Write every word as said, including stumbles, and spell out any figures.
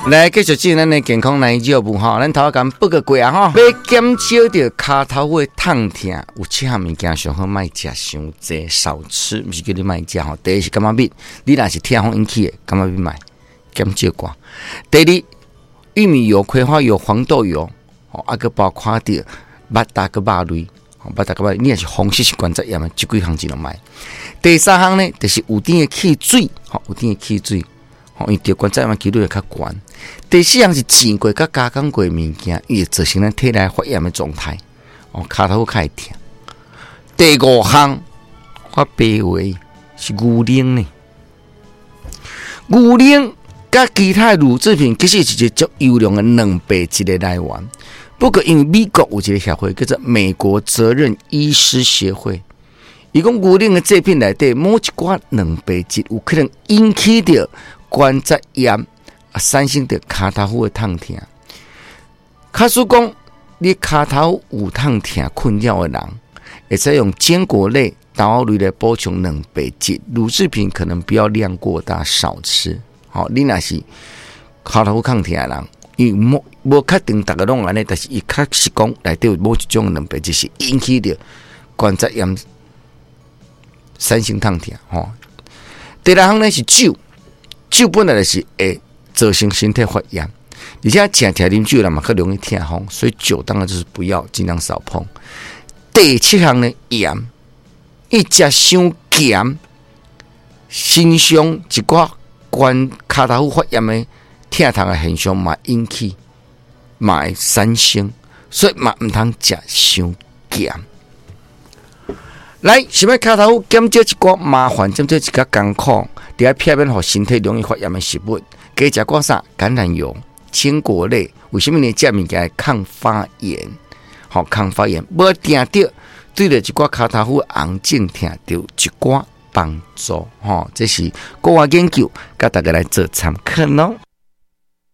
來繼續進行咱的健康來腳步吼，咱頭仔共報告過啊吼，欲減少著跤頭趺的痛疼，有七項物件上好莫食傷濟，少吃，毋是叫你莫食吼。第一是柑仔蜜，你若是痛風引起的，柑仔蜜莫減少寡。第二，玉米油、葵花油、黃豆油，吼，啊閣包括著肉蛋佮肉類，肉蛋佮肉類，你若是風濕性關節炎的，這幾項盡量莫。第三項呢，就是有甜的汽水，吼，有甜的汽水。因為著關節炎幾率會較懸。第四項是煎過佮加工過的物件，伊會造成咱體內發炎的狀態，哦，跤頭趺較會疼。第五項，我白話是牛奶呢。牛奶佮其他乳製品其實是一個足優良的蛋白質的來源。不過，因為美國有一個協會叫做美國責任醫師協會，伊講牛奶的製品內底某一寡蛋白質有可能引起著關節炎啊，產生著跤頭趺的痛疼。假使講你跤頭有痛疼困擾的人，會使用堅果類、豆類來補充蛋白質。乳製品可能不要量過大，少吃。好，你若是跤頭趺痛疼的人，因為無無確定逐个攏按呢，但是伊確實講內底有某一種蛋白質是引起著關節炎產生痛疼。吼，第六項呢是酒。酒本來就是會造成身體發炎，而且誠常啉酒的人嘛較容易痛風，所以酒當然就是不要，盡量少碰。第七項呢，鹽，伊食傷鹹，身上一寡關跤頭趺發炎的疼痛的現象嘛引起，嘛會產生，所以嘛毋通食傷鹹。來，想欲跤頭趺減少一寡麻煩，減少一寡艱苦，著愛避免予身體容易發炎的食物，加食寡啥？橄欖油、堅果類，為啥物呢？這物件會抗發炎，好抗發炎，無定著對著一寡跤頭趺紅腫疼，著有一寡幫助，吼，這是國外研究，共大家來做參考囉。